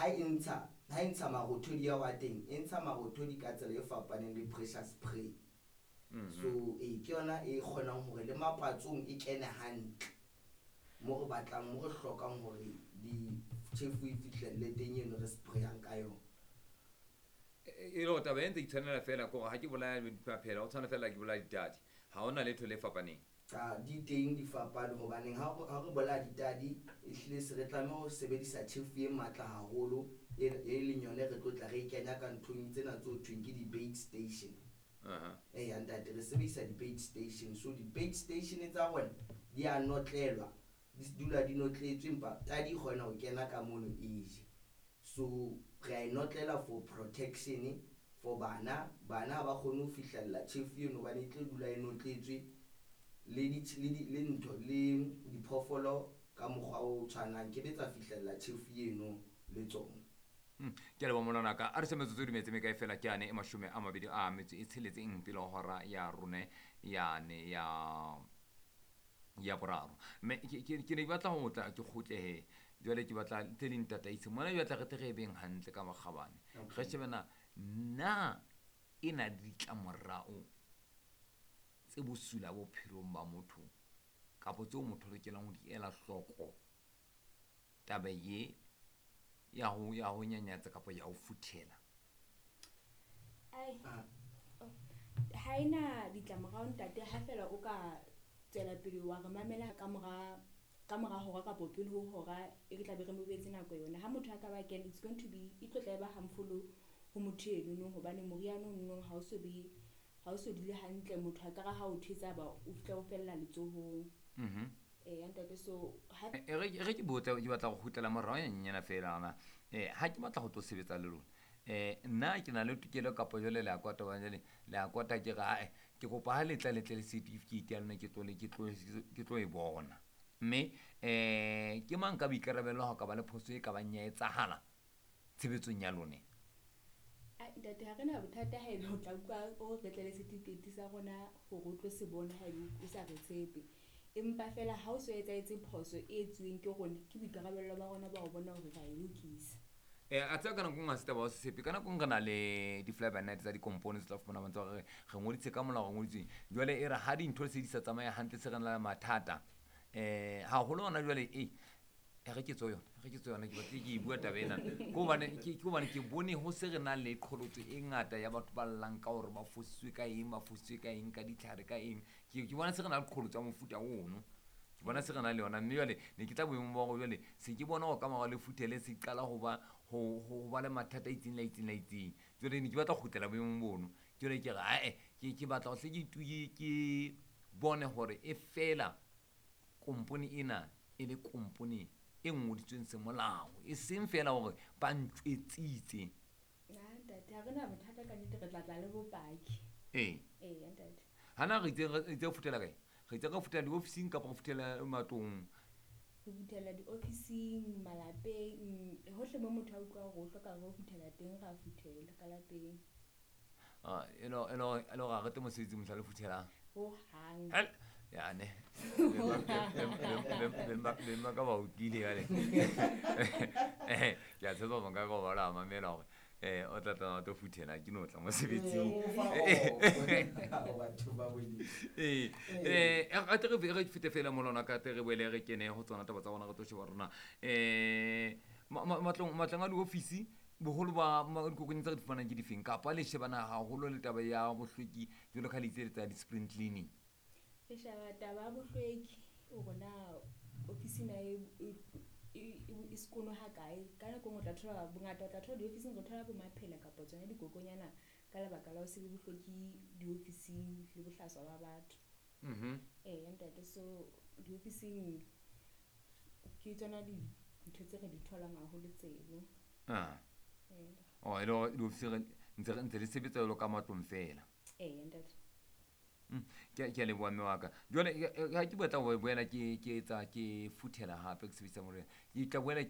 Ha e ntsha marothodi ao a teng, e ntsha marothodi ka tsela e fapaneng le pressure spray. So ee, ke yona e kgonang hore le mapatsong e kene hantle mo re batlang, mo re hlokang hore ditjhefu e fihlelle teng eno re sprayang ka yona. E le hore taba e ntse itshwanela fela ke hore ha ke bolaya maphela, o tshwana fela ke bolaya ditadi, ha hona letho le fapaneng. Cha, di teng di fapane, hobaneng ha re bolaya ditadi, ehlile se re tlameha ho sebedisa tjhefu e matla haholo, e leng yone re tlo tla re e kenya ka nthong tsena tse ho thweng ke di-bait station. Eya ntate, re sebedisa di-bait station. So di-bait station tsa rona di a notlelwa, di dula di notletswe, empa tadi e kgona ho kena ka mono e je. So re a e notlela for protection for bana. Bana ha ba kgone ho fihlella tjhefu eno hobane e tlo dula e notletswe, le le ntho le diphoofolo ka mokgwa o tshwanang ke be tsa fihlella tjhefu eno le tsona. Ke a leboha molwana ka a re se metsotso e dumetse mekae fela ke ane e 26 pele ho hora ya rone yane ya boraro. Mme ke ne ke batla ho tla ke kgutlehe jwale, ke batla tse ding tataise mona, ke batla re tle re e beng hantle ka makgabane. Re shebe na e na le ditlamorao tse bosula bophelong ba motho, kapa tseo motho a lokelang ho di ela hloko, taba ye ya ho nyanyatsa kapa ya ho futhela? Ai. Ah. Ha ena ditlamorao ntate, ha fela o ka tswela pele wa re mamela ka mora hora kapa pele ho hora e re tlabe re mo beetse nako yona. Ha motho a ka ba kena, it's going to be, e tlo tla e ba harmful ho motho enono, hobane moriana ono ha o so be, ha o so dule hantle, motho a ka re ha o thetsa ba o fihla o fella letsohong. Eya ntate, so ha E re ke botse, ke batla go kgutlela morao nyenyana fela ana. Ha ke batla go tlo sebetsa le lona, nna ke na le tokelo kapa jwale le a kwata ba jwale le a kwata, ke re ae, ke kopa ha le tla le tle le certificate ya lona, ke tlo e bona. Mme ke mang ka boikarabelo ha o ka ba le phoso e ka bang ya etsahala tshebetsong ya lone? Ai ntate, ha re na bothata haebe o tla utlwa o re tle le certificate sa rona hore o tlo se bona haebe o sa re tshepe. Empa fela ha o so etsahetse phoso e etsuweng ke rona, ke boikarabello ba rona ba ho bona hore ra e lokisa. A tseba ka nako e nngwe ha se taba ya ho se tshepe. Ka nako e nngwe re na le di-fly by night tsa dikompone tse tla fumana ba ntse ba re re ngoditse ka molao, re ngoditsweng. Jwale e re ha dintho se di sa tsamaye hantle, se re na le mathata haholo hona jwale. E re ke tswe yona, e re ke tswe yona, ke batlile ke e bua taba ena ke hobane ke bone ho se re na le qholotso e ngata ya batho ba llang ka hore ba fositswe ka eng, ba fositswe ka eng, ka ditlhare, ka eng. Ke bona se re na le qholotso ya mofuta ono, ke bona se re na le yona. Mme jwale ne ke tla boemong ba hore jwale se ke bona hore ka mora le futhele se qala ho ba le mathata a itseng le a itseng le a itseng. Jwale ne ke batla ho kgutlela boemong bono. Jwale ke re ae, ke batla ho hle ke bone hore e fela kompone ena e le kompone e ngodisitsweng semolao, e seng fela hore ba ntjwetsitse. Na ntate, ha re na bothata ka nnete, re tla tla le bopaki. Ee. Eya ntate. Hana re itse re futhela kae? Re itse re futhela diofising kapa re futhela matlong? Re futhela diofising, malapeng, hohle mo motho a utlwa hore o hloka re o futhela teng, ra futhela ka lapeng. Ah, e le hore ha re tle mosebetsing mohla le futhelang? Ho hang. Hel, yane beng ba ka ba utlwile jwale. Ke a tshepa monga ka ba la mamela hore o tla tla o tlo futhela, ke no tla mosebetsing. Batho ba Modimo. Ee, a tle re fete fela molona ka tle re boele re kene ho tsona taba tsa rona, re tlo sheba rona matlong a diofisi, boholo ba dikokonyana tse re di fumanang ke difeng, kapa le shebana haholo le taba ya bohlweki jwalo ka le itse le tsa di-spring cleaning? Re sheba taba ya bohlweki, hore na ofisi na e sekono ha kae. Ka nako e nngwe o tla thola bongata, o tla thola diofising re thola bo maphela kapa tsona dikokonyana ka lebaka la ho se be bohlweki diofising le bohlaswa ba batho. Eya ntate, so diofising ke tsona dintho tse re di tholang haholo tseno. Ah. Ee. Oh, e le hore diofisi re ntse le sebetsa jwalo ka matlong fela? Eya ntate. Ke a leboha mme wa ka. Jwale ha ke batla ho boela ke etsa ke futhela hape, ke sebedisa morena, ke tla boela ke